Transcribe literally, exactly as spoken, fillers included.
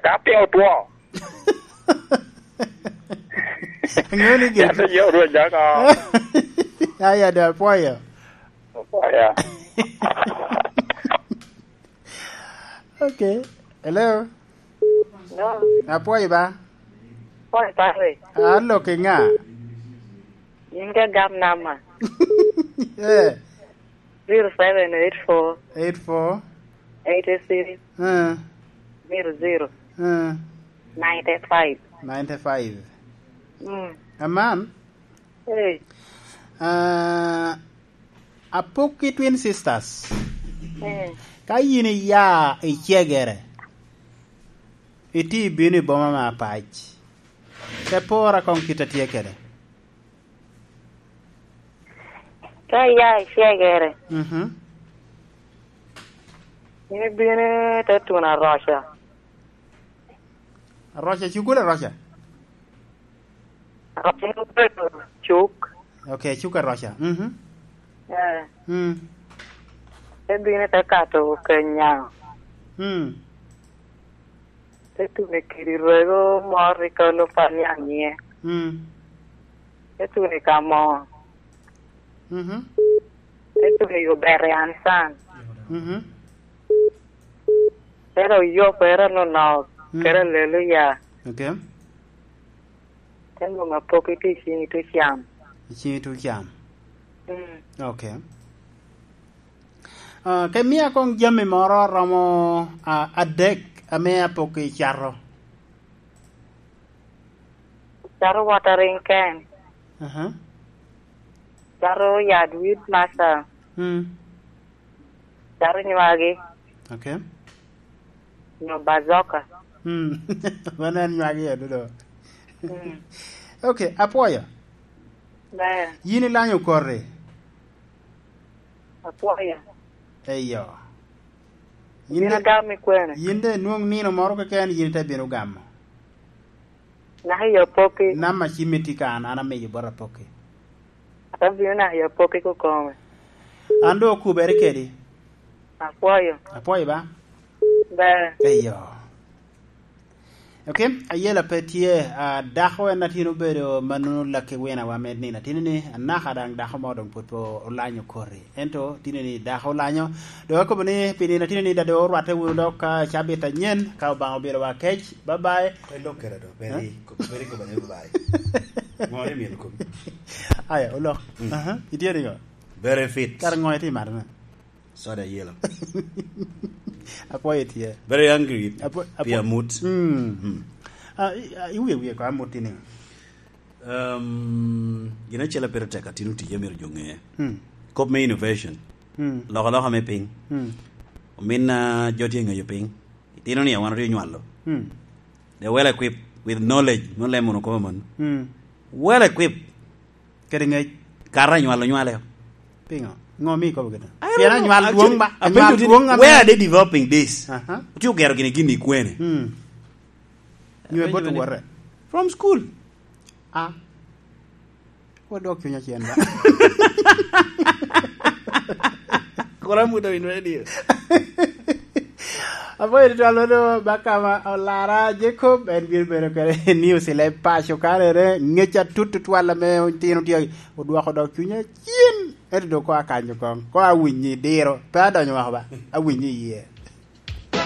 Ka piny otwo. Ŋeo ni gin. Yat oye orweny dako. Aya, do apwoyo. Apwoyo. Okay. Hello. Hello. Apwoyo ba? Apwoyo, pare. Ah, lok i ŋa? In ka gam nama. Eh. Zero seven eight four. Eight four. Eight six. Eh. Zero zero. Eh. Ninety five. Ninety five. Mm. Aman? Hey. Ah, Apok i Twin Sisters. Mm. Ka yin iya i Cegere, iti bino i boma me Apac, te pora koŋ kit a tye kede. Ka iya i Cegere, mhm, in ibino te tuno Aroca. Aroca, cukul Aroca? Aroca obedo cuk. Okay, cuk Aroca. Mhm. Eh. Mm. Te bino te kato Kenya. Mm. Te tuno i kidi rwego moro i kalo pa niaŋ nyiŋe. Mm. Te tuno i Kamo. Mhm. Te tuno i Obere Ansan. Mhm. Te dok yo pere nonok, mm, kede Aleluya. Okay. Te nwoŋo Apok i tye i ciŋ i tucam. I ciŋ i tucam. Mm. Okay. Ah, ka imia koŋ jami moro romo, ah, adek ame Apok icato. Cato watering can. Aha. Cato yad wit masa. Mm. Cato nywagi. Okay. Nyo bazoka. Mm. Mano en nywagi ya dodo. Mm. Okay, apwoyo. Ber. Yin ilanyo koti? Apwoyo. Eyo. Yin Bino de, gamo i kwene? Yin de nwoŋ nino moro keken yin te bino gamo. Naka i Apoki. Namba cimmi tye ka an, an amiyo bot Apoki. Abino naka i Apoki kokome. An doŋ okubere kedi. Apwoyo. Apwoyo ba? Ber. Eyo. Ok, ayela pe tye, ah, dako en atin obedo mannono lakki winawa me nino atinni, anaka daŋ dako mo doŋ pwod pe olanyo koti. Ento tinni dako olanyo. Doŋ akobo ni pi nino atinni daŋ doŋ orwatte wunu dok ka cabit anyen, ka Obaŋa obedo wa kec. Bye bye. Kwe lok kede do, beri, eh? Ko-, beri kobo ni bye bye. Ŋo ni myel komi? Aya, olok. Mm. Aha, itye nigo? Very fit. Kara ŋo itye mato na? Soda yellow. Apwoyo tye. Very angry. Apwo-, apwo-, pi amut. Mm. Mm. Ah, i-, ah, iwie wie ko amut ni. Um, gin acel a pire tek atin oti a myero jo ŋe. Mm. Kop me innovation. Mm. Loko loka me piny. Mm. Omin, ah, jo tye ŋeyo piny. Itino ni wan otye nywalo. Mm. They well equipped with knowledge. Nwoŋo lemo no komo man. Mm. Well equipped. Kede ŋec. Kara nywalo nywale. Piŋo? Ŋo mi ikobo kede? I don't know. Pien anywal dwoŋ ba, anywal dwoŋ ame. Where are they developing this? Aha. Otye ogero gini gini i kwene? Mm. Nyo bot owote? From school. Ah. Wodok cunya cen ba. Kora muda in radio. Apoyo tutwal wano ba kama olara Jacob, en bino bedo kede news i leb paco karere, ŋec atut tutwal ame tino tye odwoko dok cunya cen. Ento dok ko akanyo kong, ko awinyi diro, pe adonyo woko ba, awinyi iye.